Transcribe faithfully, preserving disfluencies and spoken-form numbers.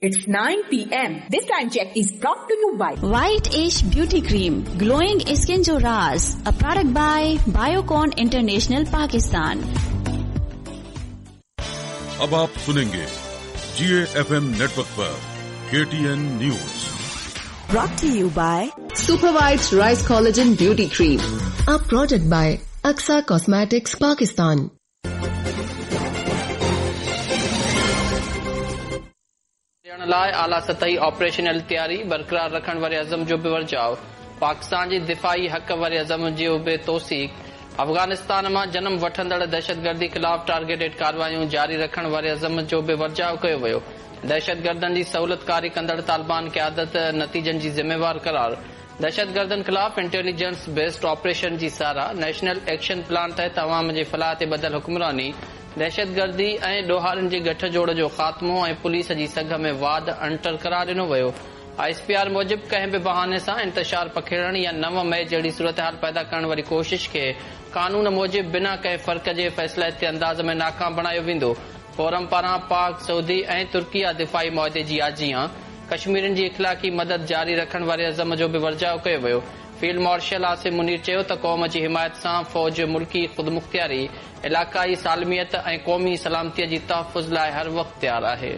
It's nine p m. This time check is brought to you by White Ish Beauty Cream, Glowing Skin Jo Raaz, a product by Biocon International Pakistan. अब आप सुनेंगे G A F M network पर K T N news. Brought to you by Super White Rice Collagen Beauty Cream, a product by Aksa Cosmetics Pakistan. ॾियण लाइ आला सतही operational तयारी बरक़रार रखण वारे अज़म जो बि वरजाव। पाकिस्तान जी दिफ़ाई हक़ वारे अज़म जो बि तौसीक। अफ़गानिस्तान मां जनम वठंदड़ दहशतगर्दी ख़िलाफ़ टारगेटेड कार्रवाइयूं जारी रखण वारे अज़म जो बि वरजाव कयो वियो। दहशतगर्दनि जी सहूलतकारी कंदड़ तालिबान क़यादत नतीजनि जी ज़िम्मेवार करार। दहशतगर्दनि ख़िलाफ़ इंटेलिजेंस बेस्ड ऑपरेशन जी साराह। नेशनल एक्शन प्लान तहत अवाम जे फलाह ते ॿधल हुक्मरानी, दहशतगर्दी ऐं ॾोहारियुनि जे गठ जोड़ जो ख़ात्मो ऐं पुलिस जी सघ में वाध अणटर करार ॾिनो वियो। I S P R मूजिबि कंहिं बि बहाने सां इंतशार पखेड़ण या नव मई जहिड़ी सूरत हाल पैदा करण वारी कोशिश खे कानून मूजिबि बिना कंहिं फ़र्क़ जे फ़ैसिलाइती अंदाज़ में नाकाम बणायो वेंदो। फोरम पारां पाक, सऊदी ऐं तुर्किया दिफ़ाई मुआदे जी आजीयां कश्मीरियुनि जी इख़लाक़ी मदद जारी रखण वारे अज़म जो बि वरजाव कयो वियो। फील्ड मार्शल आसिम मुनीर चयो त क़ौम जी हिमायत सां फ़ौज मुल्की ख़ुदमुख़्तियारी, इलाक़ाई सालमियत ऐं क़ौमी सलामतीअ जी तहफ़ुज़ लाइ हर वक़्तु तयार आहे।